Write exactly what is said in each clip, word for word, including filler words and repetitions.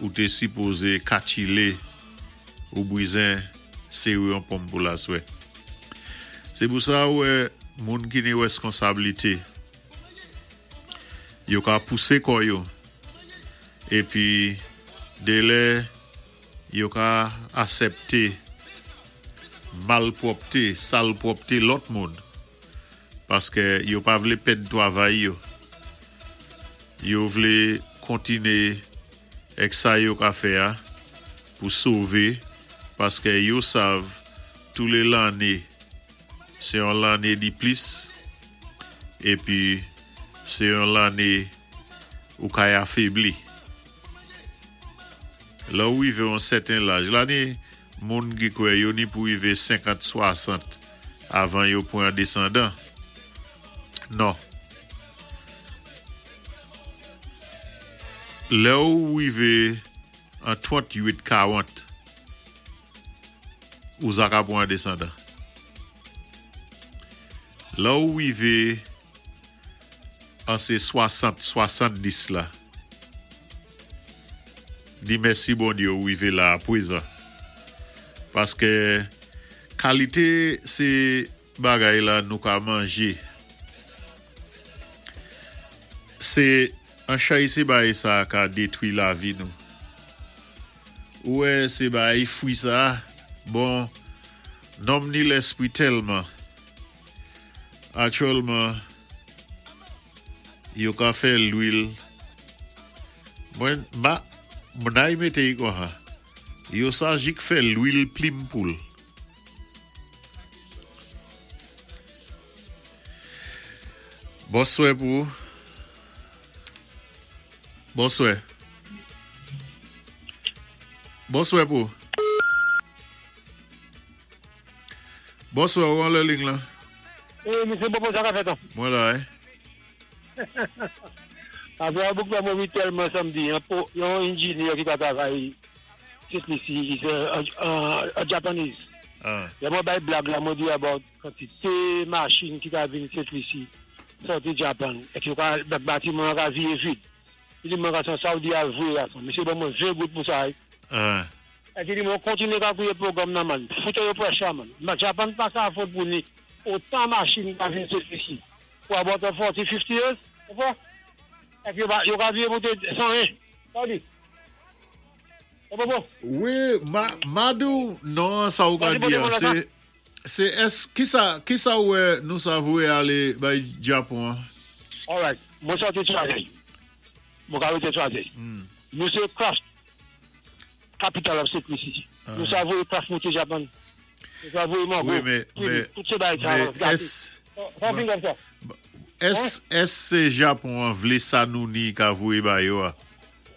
Ou té sipozé katchilé ou bizen séwé yon pòm pou laswè. Sé pou sa ou wè moun ki ni wèskonsablité yo ka pousé kò yo épi dé lè yo ka asèpté malpwòpté, salpwòpté lòt moun paské yo pa vlé pèd twavay yo. Yo vlé kontiné èk sa yo ka fè a pou sové paské yo sav tou lé lanné sé yon lanné di plis épi sé yon lanné ou kay afébli. Lè ou wivé yon sèten laj, la ni moun ki kwè yo ni pou wivé senkant, swasant avan yo pwan desandan. Non. Lè ou wivé an twant-uit, kawant, ou za ka pwan desandan. Lè ou wivé an sé swasant, swasanndis la, di mèsi Bondyé ou wivé la pwézan. Paské kalité sé bagay la nou ka manjé. Sé an chay sé bagay sa ka détwi lavi nou. Ou wè sé bagay fwi sa, bon, nonm ni lèspwi tèlman. Aktyèlman, yo ka fè lwil. Mwen, ma, mwen mété i konsa. Yo sa jik fè lwil plim poul. Bonswè pou. Bonswè. Bonswè pou. Bonswè, ou an lè ling la? Eh, Mesye Bobo, sa ka fèt an? Mwen la, eh? Avè a bouk la mwen tèlman samdi, yon, po- yon engineer ki ta travay Sent Lisi, is a, a, a Japanese. Ah. Lè mwen bay blag la, mwen di about kantité machin ki ka vin Sent Lisi, sòti Japan, èk yo ka, bak batiman ka viye vid. Li di mwen ka san Saudi al vwe la san. Mesye ban mwen ven goud pou sa. Ah. Èk li di mwen kontiné ka kwiye pwogram nan man. Foute yo pressure man. Ma Japan pa sa afford pou ni otan machin ka vin Sent Lisi. Pou about forty, fifty years, ou Èk yo, ba- yo ka viye moute san en. Sa di? E bon bon. Wi, ma, Madou, non, sa ou ka Vas-y, di, bon, bon, sé, sé ès, ki sa, ki sa wè nou sa voué alé bay Japon? An? Alright. Mwen sòti Choiseul. Mwen ka wete Choiseul. Nou sé craft capital of Saint Lucie. Nou sa voyé craft monté Japan. Nou sa voyé mango. Wi, mé, Fruit, mé, tout sé bagay sa. mé, gâté. ès, Sa fin kòm sa. ès, ès sé Japon an vlé sa nou ni ka voué ba yo a?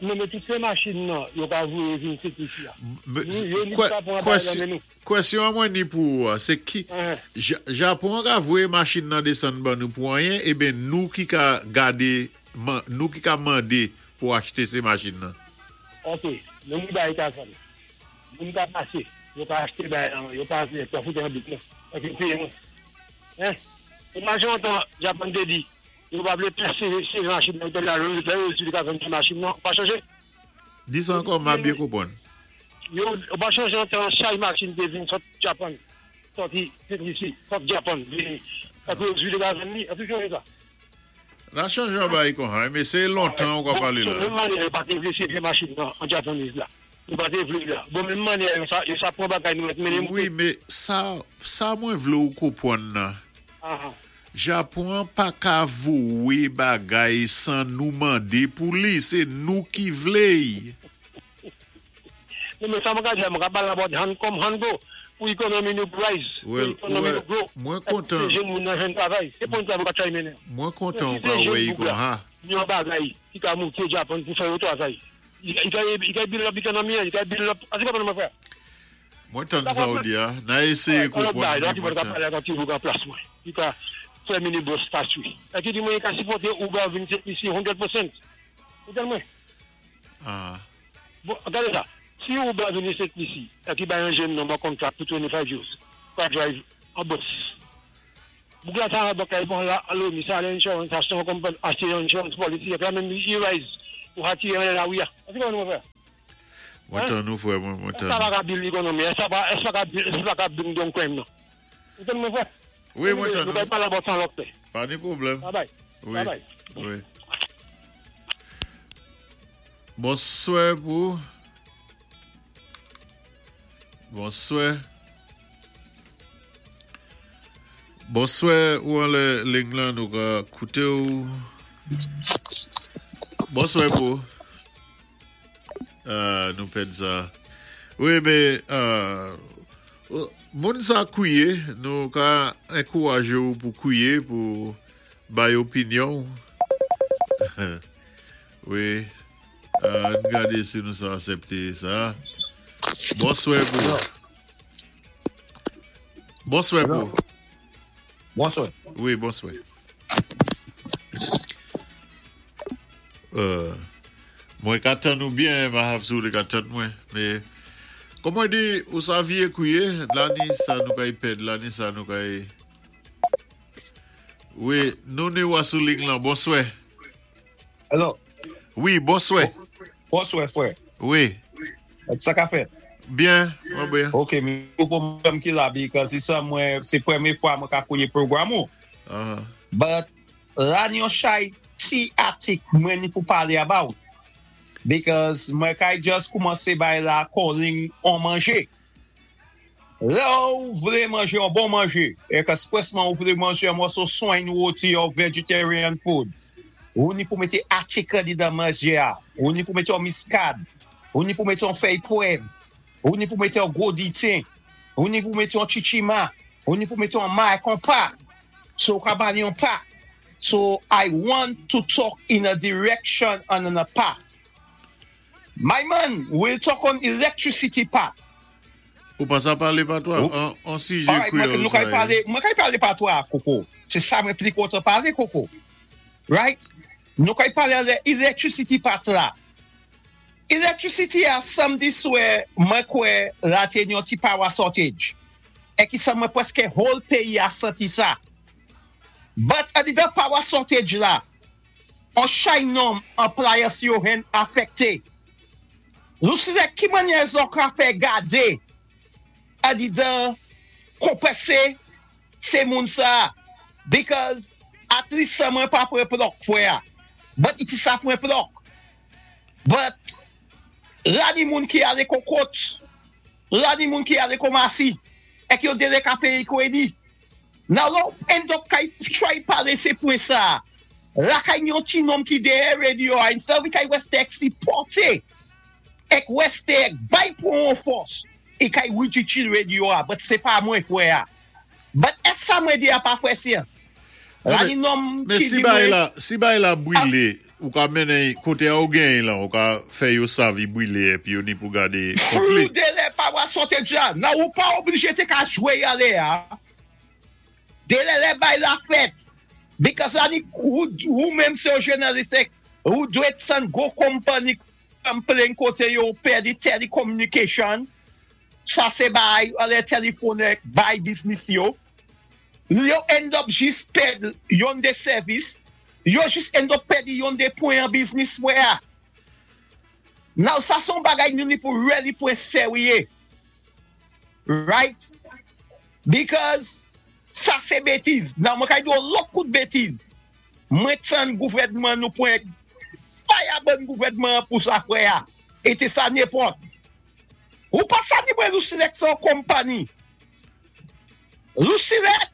Non, mé tout sé machin nan, yo ka voyé vin Sent Lisi a. Mé- Nou, yo ni Kwè- sa pou an kwèsyon- bagay nan men nou. Kwèsyon mwen ni pou ou a, sé ki, Uh-huh. Ja- Japon ka voué machin nan désann ban nou pou anyen, eben nou ki ka gadé, man, nou ki ka mandé pou achté sé machin nan. Ok, nou ni bagay ka sa. Moun ka pasé, yo ka achté bagay nan, yo pa yo pa foute an bit nan. Ok, péyé mwen. Hein? Imajin an Japan té di, yo pa vlé pèsé sé machin nan, yo la lè yo di ka vann machin nan, pa chanje. Di sa ankò, ma byen konpwann. Yo yo pa chanje an tan chay machin té vin sot Japan. Sòti Sent Lisi, sot Japan, vini. Èpi yo di ka vann ni, èpi chanje sa. La chanje an bay kon ha, mé sé lontan ou ka palé la. Menm mannyè, yo pa té vlé sé machin nan, an Japanese la. Yo pa té vlé la. Bon, menm mannyè, yo sa, yo sa pwan bagay nou mèt mennen. Wi, mé sa, sa mwen vlé ou konpwann nan. Ah, ah. Japon pa ka voué bagay san nou mandé pou li, sé nou ki vlé. Non, mé sa mwen ka di, mwen ka pale about hand come, hand go. Pou ekonomi nou rise, pou Well, ekonomi ouais, nou grow. mwen kontan. Sé jenn moun nan jwenn travay. Sé pou sa mwen ka try mennen. Mwen kontan Si ou ka sé wè jenn i kon boug la, ha. Ni yon bagay ki ka monté Japan pou fè yo travay. I ka, i ka build up ekonomi, i ka build up. Asi konpwann mwen frè? Mwen tann sa ou di a, na éséyé Alright, konpwann. bagay, la ni ki mwen mwen ka tan. pale ak ti boug an plas mwen. Ki ka fè minibus taxi. E ki di mwen ka sipòté Uber vin Sent Lisi san pousan. Ou tèl mwen? Ah. Bon, gade sa. Si Uber vin Sent Lisi, e ki bay yon jenn nonm an contract pou twenty-five years, ka drive an bus. Boug la sa an bakay bon la, alo, mi sa ale insurance, achte yon company, achte yon insurance policy, e la menm i rise, ou hati yon la ouya. Asi konpwann mwen frè? Mwen tann nou, fwè, mwen, mwen Sa tann. Pa ka build economy, sa pa, sa ka build, sa ka bring down crime, non. Ou tann mwen, fwè? Wi, mwen tann Nou nou. kay pala about san lòt. Pa ni pwoblèm. Bye bye. Wi. Bye bye. Wi. Bonswa pou. Bonswa. Bonswa, ou an lè liy lan, nou ka kouté ou. Bonswa pou. Euh, nou pèd sa. Wi, mé, euh, moun sa kwié, nou ka ankourajé ou pou kwié, pou bay opinyon. Wi. Euh, gadé si nou sa asèpté sa. Bonswa pou. Bonswa pou. Bonswa. Wi, bonswa. Euh, mwen ka tann nou byen, ma hafsou li ka tann mwen, mé kòm mwen di, ou sa vyé kwié, la ni sa nou kay pèd, la ni sa nou kay. Wi, nou ni ou sou liy lan, bonswa. Hello. Wi, bonswa. Bonswa, fwè. Wi. Sa ka fèt? Byen, mwen byen. Ok, mwen pwoblèm ki la because sa mwen, sé pwémyé fwa mwen ka kounyé pwogram ou. Uh-huh. But la ni yon chay ti atik mwen ni pou palé about. Because mwen kay just koumansé bay la calling on manjé. Lè ou vlé manjé yon bon manjé, é eksprésman ou vlé manjé yon mòso swen woti ou vegetarian food, ou ni pou mété atik di dan manjé a, ou ni pou mété yon miskad, ou ni pou mété yon fèy pwèv, ou ni pou mété yon gwo diten, ou ni pou mété yon chichima, ou ni pou mété yon may konpa. So ka ba li yon pa. So I want to talk in a direction and in a path. My man, we'll talk on electricity part. Ou pa sa palé patwa? Ou- An, an sijè Alright, mwen kwéyòl nou kay sa, palé, mwen kay palé patwa, Koko. Sé sa mwen pli kontan palé, Koko. Right? Nou kay palé de electricity part la. Electricity a samdi swè, mwen kwè la té yon ti power shortage. É ki sa mwen pwèské whole péyi a santi sa. But adidan power shortage la, an chay nonm appliance yo hen afèkté. Nou si de ki mannyè zòt ka fè gadé adidan konpensé sé moun sa because at least sa mwen pa pran plòk fwè a. But iti sa pran plòk. But la ni moun ki alé Kokot, la ni moun ki alé Komasi, é ki yo délé ka péyé kwédi. Nan lò end up kay try palé sé pwen sa. La kay yon ti nonm ki déyè radio a, instead of kay wèsté ek sipòté, ek wèsté ek bay pou an fòs, e kay wichichi radio a, but sé pa mwen fwè a. But ès sa mwen di a pa fwè syans? La ni nonm Mé ki si di bay mwen la, si bay la bwilé, ou ka mennen koté a ou gen la, ou ka fè yo sav i bwilé épi yo ni pou gadé konplé. Pou délé power shortage la, nan ou pa oblijé té ka jwé alé a. Délé lè bay la fèt. Because la ni ou, ou menm sé yon jounalis ek, ou dwé san go company complain koté yo pèdi telecommunication. Sa sé bay, alé telefòn ek, bay business yo. Yo end up jis pèd yon de sèvis, yo jis end up pèdi yon de pwen an business wè a. Now sa son bagay nou ni pou really pwen sèwiye. Right? Because sa sé bétiz. Nan mwen kay di yon lòt kout bétiz. Mwen tann gouvèdman nou pwen fire ban gouvèdman pou sa fwè a. É té sa nenpòt. Ou pa sa ni mwen Lucelec son company. Lucelec,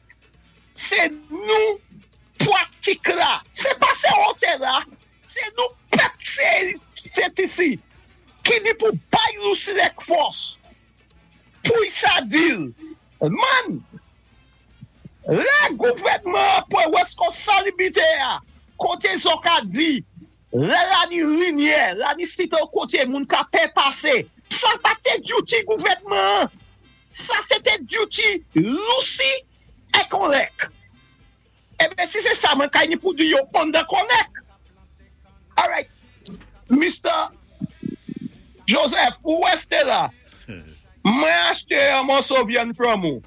sé nou pwatik la. Sé pa sé hôtel la. Sé nou pèp sé sé isi. Ki di pou bay Lucelec fòs. Pou sa dil. Man, lè gouvèdman pwan weskonsabilité a, koté zo ka di, lè la ni limyè, la ni sito koté moun ka pè pasé, sa pa té duty gouvèdman. Sa sé duty Lucy é Konlèk. Ében si sé sa, mwen kay ni pou di yo under Konlèk. Alright, Mister Joseph, ou wèsté la? Mwen achté yon mòso vyann from ou.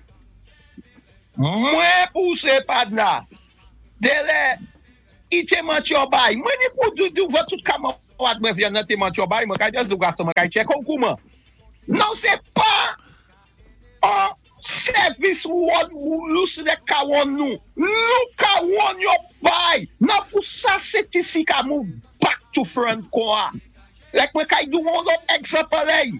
Mwen pousé padna. Délé, i té manti yo bay. Mwen ni pou di douvan tout kaman What mwen vyen nan te mantyo bay, mwen kay just di gason, mwen kay check ou kouman. Non, sé pa an sèvis won nou se ka won nou. Nou ka won yo bay. Nan pou sa Sent Lisi ka move back to front kwa. Lèk mwen kay di ou lòt egzanp lèy.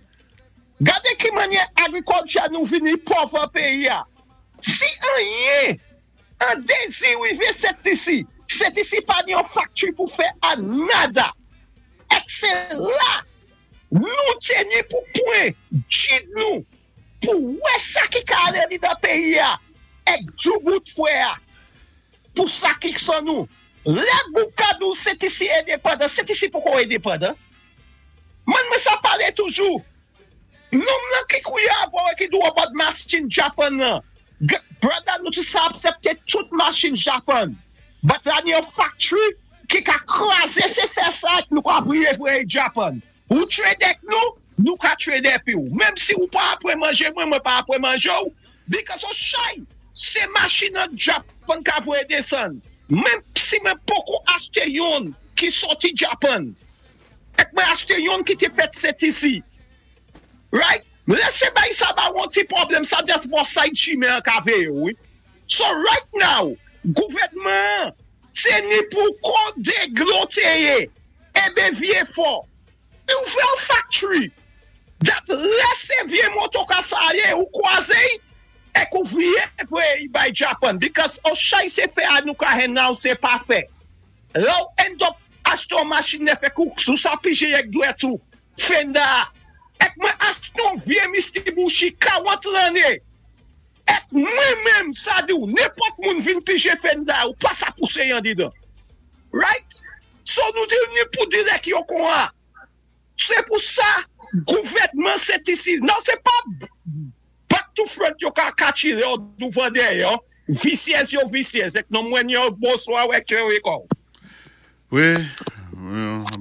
Gadé ki mannyè agriculture nou vini pòv an péyi a. Si anyen, an dezi wivé Sent Lisi, Sent Lisi pa ni yon factory pou fè a nada. Ek sé la, nou téni pou pwen, jid nou, pou wè sa ki ka alé ni dan péyi a, ek doubout fwè a, pou sa ki son nou. Lè boukadou Sent Lisi endepandan, Sent Lisi poko endepandan. Mwen mwen sa palé toujou. Nonm nan ki kouya avò ki do about machin Japan nan. Brother, nou tou sa aksepté tout machin Japan. But la ni yon factory ki ka kwazé se fè sa ek nou ka priye pou Japan. Ou trade ek nou, nou ka trade epi ou. Mem si ou pa apre manje mwen, mwen pa apre manje ou, because ou chay, se machin an Japan ka voye desann. Mem si mwen poko achté yon ki soti Japan, ek mwen achté yon ki te fèt Sent Lisi. Right? Lè se bay sa ba wan ti pwoblèm, sa just bo side chime an ka veye, wi. So right now, gouvèdman, sé ni pou kon dégloteye, ébé vyé fò. Ou fè an factory, that lè sé vyé moto ka sa yé, ou kwazé, ek ou vye voye bay Japan. Because ou chay se fè a nou ka hen now se pa fè. Lè ou end up achté yon machin nèf ek ou sou sa pijé ek dwèt ou, fenda, ek mwen achté yon vyé Mitsubishi karant lanné, ek mwen menm sa di ou, nenpòt moun vin pijé fenda ou pa sa poussé yan didan. Right? So nou di ni pou direk yo kon a. Sé pou sa, gouvèdman Sent Lisi. Non, sé pa back to front yo ka kachire yo douvan dèyè yo. Visyèz yo visyèz. Ek non mwen yo bonswa wèk che wè. Wi,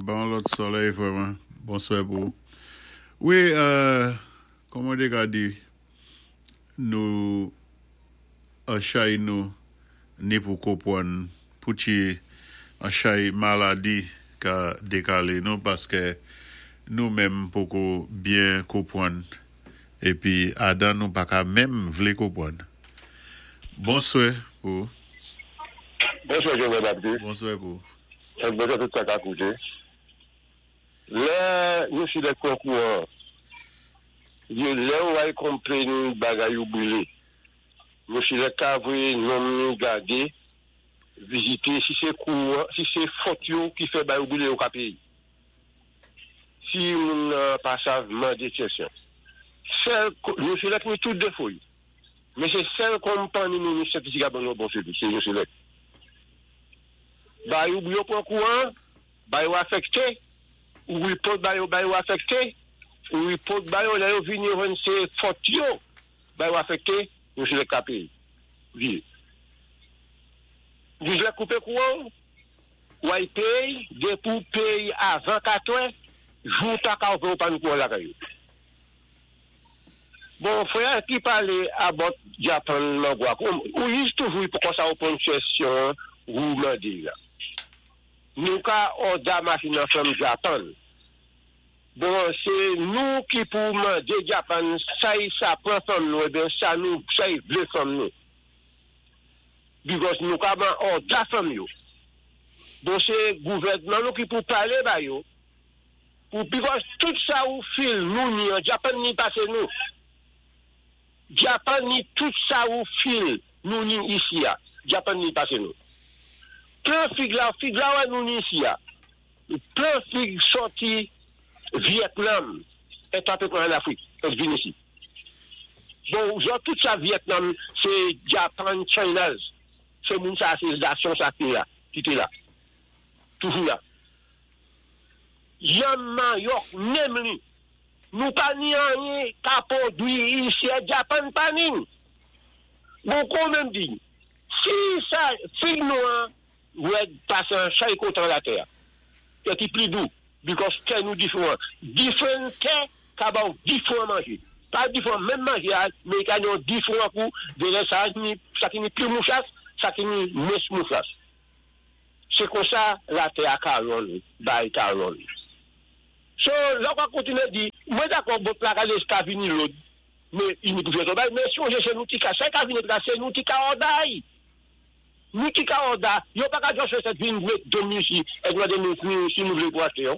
bon lòt solèy vrèman. Bonswa pou. Wi, euh, kòman dé ka di, nou, an chay nou, ni pou konpwann, pou ti an chay maladi ka dékalé nou, paské nou menm poko byen konpwann, épi adan nou pa ka menm vlé konpwann. Bonswa pou. Bonswa, Jean Baptiste. Bonswa pou. Bonswa tout sa ka kouté. Lè, nou si lè konkouan, yo lè ou ay complain bagay ou brilé. Nou si lè ka voyé nonm ni gadé, vizité, si sé kouwan, si sé fòt yo ki fè bagay ou brilé yo ka péyé. Si moun nan pa sav mandé kesyon. Sèl, nou si lè ki tout défo yo. Men sé sèl konpanyi nou nou se ki ka ban nou bon sèvis, sé nou si lè. Bay ou yo pran kouwan, bay ou afekté, ou report bay ou bay ou afekté, ou report bay ou lè yo vini yo jwenn sé fòt yo, bay ou afekté, nou si lè ka péyé. Vi. Nou lè koupé kouwan, ou ay péyé, dé pou péyé avan katrè, jou ta ka ou pa nou kouwan lakay yo. Bon, frè ki palé about Japan mangwa, ou yis toujou pou kon sa ou pon kesyon ou mandé la. Nou ka order machin nan from Japan. Bon, sé nou ki pou mandé Japan, sa y sa pran from nou, ébyen sa nou, sa y vlé from nou. Because nou ka ban order from yo. Bon, sé gouvèdman nou ki pou palé ba yo. Pou, because tout sa ou feel nou ni an Japan ni pasé nou. Japan ni tout sa ou feel nou ni isi ya. Japan ni pasé nou. Plen fig la, fig la wè nou ni isi ya. Plen fig sòti Vietnam, et apé pran en Afrik, et vin isi. Bon, zòt tout sa Vietnam, sé Japan, China, sé moun sa, sé nasyon sa ki la, ki té la. Toujou la. Yanm manyòk, menm li. Nou pa ni anyen ka pwodwi isi, Japan pa ni. Bon, kon menm di, si sa, fig nou an, wè pasé an chay kontan la tè, tè ki pli dou, because tè nou diferan. Diferan tè ka ba ou diferan manjé. Pa diferan, menm manjé a, men ka yon diferan kou, de lè sa, ni, sa ki ni pli mouchas, sa ki ni mwens mouchas. Sé kon sa, la tè a ka ron, bay ka ron. So, la ou ka kontiné di, mwen dakò, bòt la ka ka vini lòd, mé i ni pou fè travay, mé sonjé sé nou ki ka, sa ka vini la, sé nou ki ka òday. Nou ki ka òda, yo pa ka just fè sèt vin mèt domi isi, èk mande nou si nou vlé pou achté yo.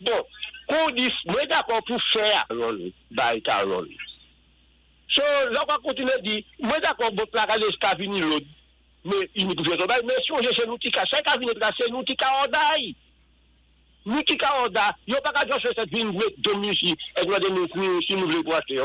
Bon, kon di, mwen dakò pou fè Carol, bay Carol. So, la ou ka kontiné di, mwen dakò, bòt la ka ka vini lòd, mé i ni pou fè travay, mé sonjé sé nou ki ka, sa ka vini la, sé nou ki ka òday. Nou ki ka òda, yo pa ka just fè sèt vin mèt domi isi, èk mande nou si nou vlé pou achté yo.